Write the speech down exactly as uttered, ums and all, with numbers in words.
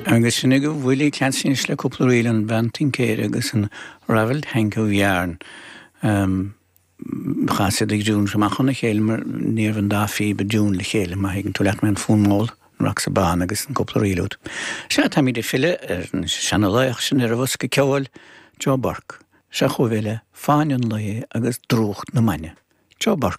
Agus sin agaibh Willie Clancy le cúpla ríl an bhean tincéir agus an Ravelled Hank of Yarn. Um, Chas siad ag dún amach óna chéile mar níorbh an dá phíb i dtiún le chéile má thuigeann tú leat mé an fonn mall an bán agus an cúpla ríl úd. Sea táimid ag filleadh ar an seanalaoch sin ar an bhosca ceoil Joe Burke. Seo chugaibh le Fáinne an Lae agus Drúcht na Maine. Joe Burke.